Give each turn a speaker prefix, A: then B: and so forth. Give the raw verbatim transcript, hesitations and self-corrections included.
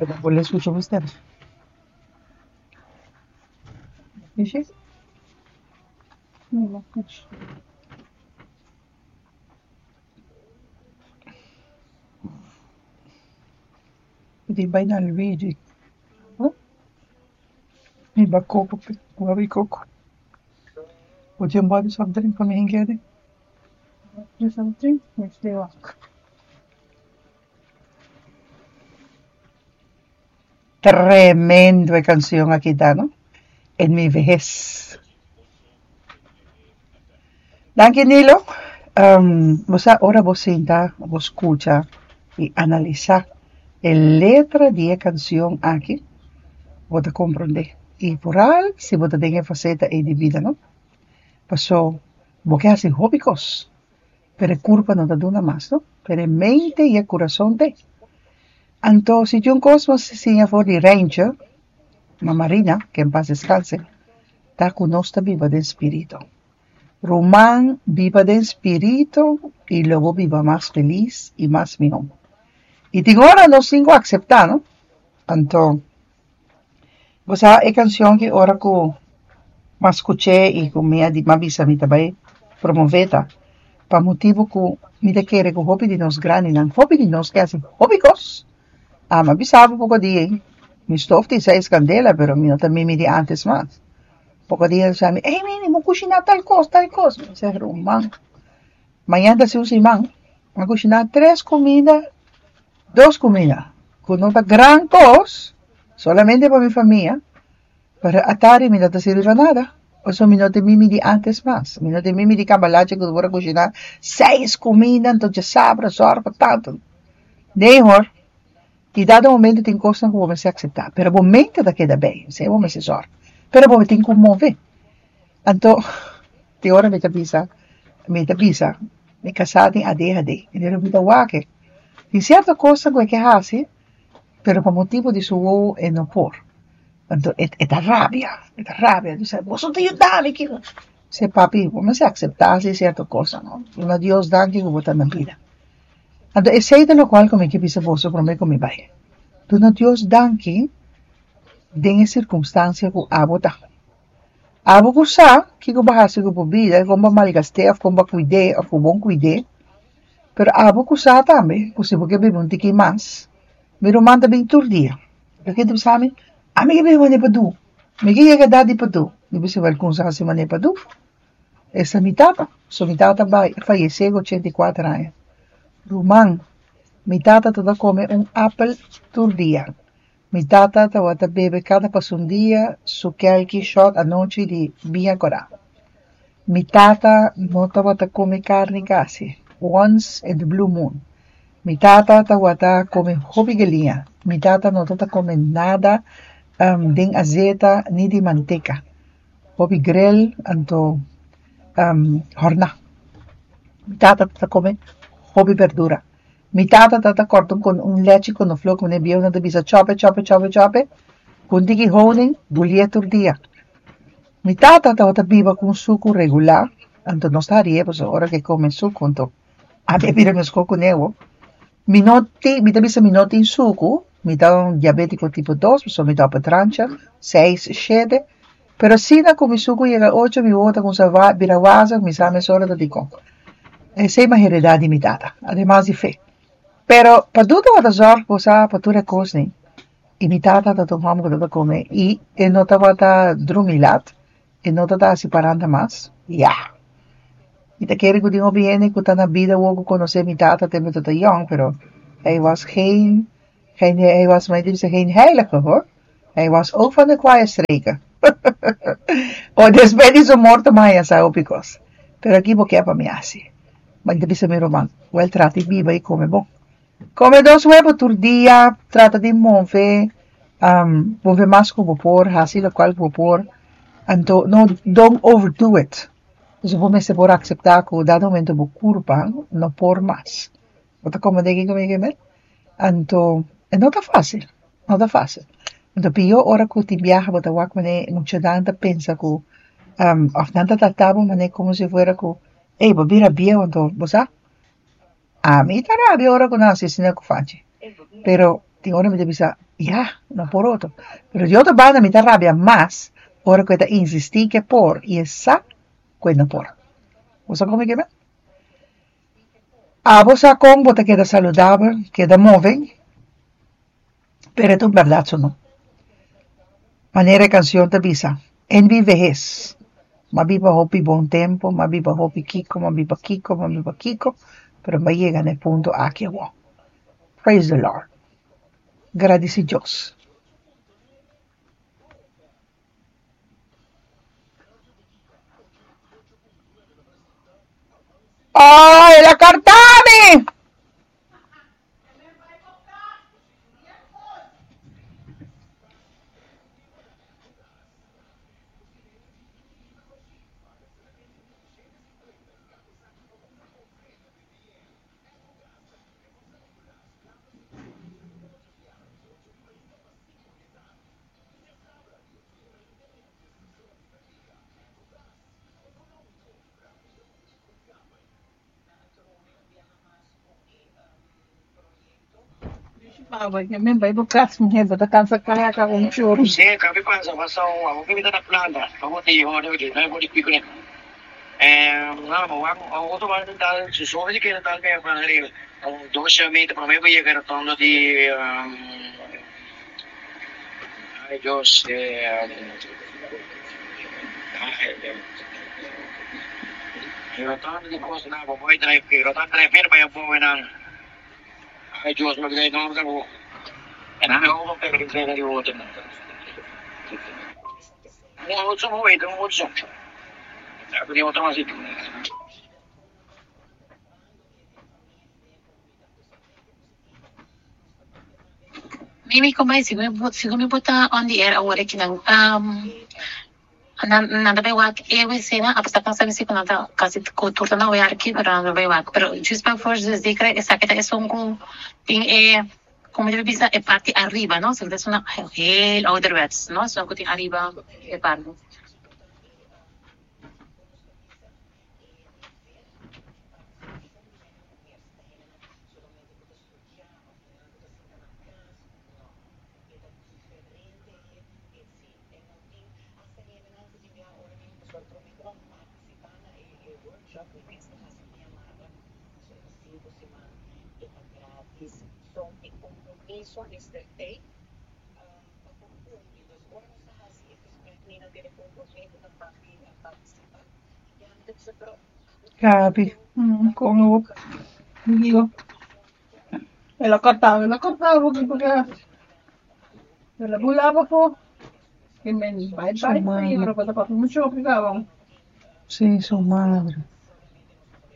A: Bo skucha bo stèm. Mishi? Di bai na Luigi. Mi ba koko, wabi koko. Bo tin un bòt di soft drink pa mi hink'é?
B: Soft drink? Mester wak.
A: Tremendo e kanshon aki ta, no? En mi vejez. Danki, Nilo. Um, bo sa, ora bo sinta, bo skucha i analisá e letra di e kanshon aki, bo ta komprondé. I vooral si bo ta den e faseta ei di bida, no? Paso, bo ke hasi hopi kos, pero e kurpa no ta duna mas, no? Pero e mente i e kurason t'ei. Anto, si tin un kos m'a siña for di Reintje, Mama Rina, que en paz descanse, ta ku nos ta biba den spiritu. Ruman, biba den spiritu i lo bo biba mas felis i mas mihó. I tin ora nos tin ku akseptá, no? Anto, bo sa e kanshon ku ora ku m'a skuch'é i ku mi a di m'a bisa mi ta bai promové ta pa motibu ku mi ta kere ku hopi di nos grandinan, hopi di nos ke hasi hopi kos. Ah, m'a bisa bo poko dia ei, mi stof tin seis kandela, pero mi no ta mimi di antes mas. Poko dia a bisa mi, ey Mimi, bo kushiná tal kos, tal kos. Mi bisa, ruman, mañana ta hasi un siman, m'a kushiná tres kuminda, dos kuminda, ku no ta gran kos, solamente pa mi famia, pero atari mi no ta sirbi pa nada. Pasobra mi no ta mimi di antes mas. Mi no ta mimi di kambalache ku bo a kushiná seis kuminda, anto djasabra, zòrg pa tantu. Nee hoor. I dado momento tin kosnan ku bo mester akseptá, pero bo mente ta keda bei, esei bo mester zòrg. Pero bo tin ku move. Anto, tin ora mi ta bisa, mi ta bisa, mi kasá tin A D H D, i mi ta wak e. Tin sierto kosnan ku e ke hasi, pero pa motibu di su wowo e no por. Anto e e ta rabia, e ta rabia, bisa, boso ta yuda mi kiko. Sey papi, bo mester akseptá si sierto kosnan, no? Duna Dios danki ku bo ta na bida. Anto esei ta lokual ku mi ke bisa boso promé ku mi bai. Duna Dios danki den e sirkunstansia ku abo ta. Abo ku sa kiko bo a hasi ku bo bida, kon bo a malgast'é òf kon bo a kuid'é òf ku bo no kuid'é. Pero abo ku sa tambe ku si bo ke biba un tiki mas, mi ruman ta bin tur dia. Loke ta bisa mi, ami ke biba manera pa du, mi ke yega edat di pa du. Mi bisa, wèl kumsa hasi manera pa du. Esta mi tata. So mi tata bai fayesé ku ochenta i kuater aña. Ruman, mi tata tabata kome un apel tur dia. Mi tata tabata bebe kada pasun dia su kelki shot anochi di biña kòrá. Mi tata no tabata kome karni kasi, once in the blue moon. Mi tata tabata kome hopi galiña. Mi tata no tabata kome nada um, den azeta ni di manteka. Hopi grill anto um, hòrná. Mi tata tabata kome hopi berdura. Mi tata tabata kòrta un, un lechi konofló ku e bieunan ta bisa chòp e, chòp e, chòp e, chòp e, ku un tiki honing, bulié tur dia. Mi tata tabata biba ku un suku regular, anto nos ta harié pasobra ora ku e kome suku, anto ami a bira meskos ku newo. Mi no tin, mi ta bisa mi no tin suku, mi ta un diabétiko tipo dos, pasobra mi ta op e trancha, seis, shete, pero asina ku mi suku yega ocho, mi wowo ta kuminsá bira wazig, mi sa mesora ta dikon. Esei m'a heredá di mi tata, ademas di fe. Pero pa du tabata zòrg bo sa pa tur e kosnan. I mi tata tabata un hòmber ku tabata kome i e no tabata drumi lat, e no tabata hasi paranda mas. Ya. Mi ta kere ku tin hopi hende ku ta na bida awor ku konosé mi tata tempu e tabata yòn, pero hij was geen, geen, hij was, maar bisa geen heilige, hoor. Hij was ook van de kwaaie streken. O despues di su morto m'a haña sa hopi kos. Pero aki bo ke pa mi hasi. Ma mi ta bisa mi ruman, wèl trata di biba i kome bon. Kome dos webu tur dia, trata di move, um, move mas ku bo por, hasi lokual ku bo por. Anto, no, don't overdo it. Dus bo mester por akseptá ku dado momento bo kurpa no por mas. Bo ta komprondé kiko mi ke men? Anto, e no ta fásil, no ta fásil. Anto pió ora ku tin biaha bo ta wak manera muchanan ta pensa ku um, òf nan ta trata bo manera komo si fuera ku, ey, bo bira bieu anto bo sa? Ami ta rabia ora ku nan hasi asina ku Fanchi. Pero Tin ora mi ta bisa, ya, no por otro. Pero di otro banda mi ta rabia mas ora ku e ta insistí ku e por i e sa ku e no por. Bo sa kon mi ke men? Abo sa kon bo ta keda saludabel, keda move, pero e ta un bèrdat su no. Manera e kanshon ta bisa, En mi vehes, m'a biba hopi bon tempu, m'a biba hopi kiko, m'a biba kiko, m'a biba kiko, pero m'a yega na e punto aki awor. Praise the Lord. Gradisí Dios. Ay, el a karta mi!
B: Mi bai bo kas muhé, bo ta kansa kaya ka un churu.
C: Sí, kapi pansa pasa un abo que na planta. Vamos te hijo de no por pico ne. Eh, no, mo wa otro bar tal, su sobre que tal me van arriba. Dos meter para mí voy a llegar tondo di ay Dios, eh rotondo di cos na bo boy drive, rotondo drive ver pa bo nan. Ay Dios, me gay no ka bo. En aan over per trainer di water. Mo otro mo wait, mo otro. Sabi di otro masih.
D: Mimi, como é? Sigo sigo mi bota on the air awor aki nan. Um, nan nan ta bai wak e wc na, apesar ku sabi si ku nan ta kasi ku tur ta na werk, pero nan ta bai wak. Pero just pa voor zeker esaki ta esun ku tin e, como debe bisa, e parti ariba, no? So dat is een heel ouderwets, no? So ku tin ariba e parti.
A: Gabi,
B: Mm, kon ook. Digo, el a kòrta, el a kòrta porque porque el a bula pafó. I men bai
A: su
B: bai
A: madre.
B: pero ta papia mucho obligado.
A: Sí, su madre.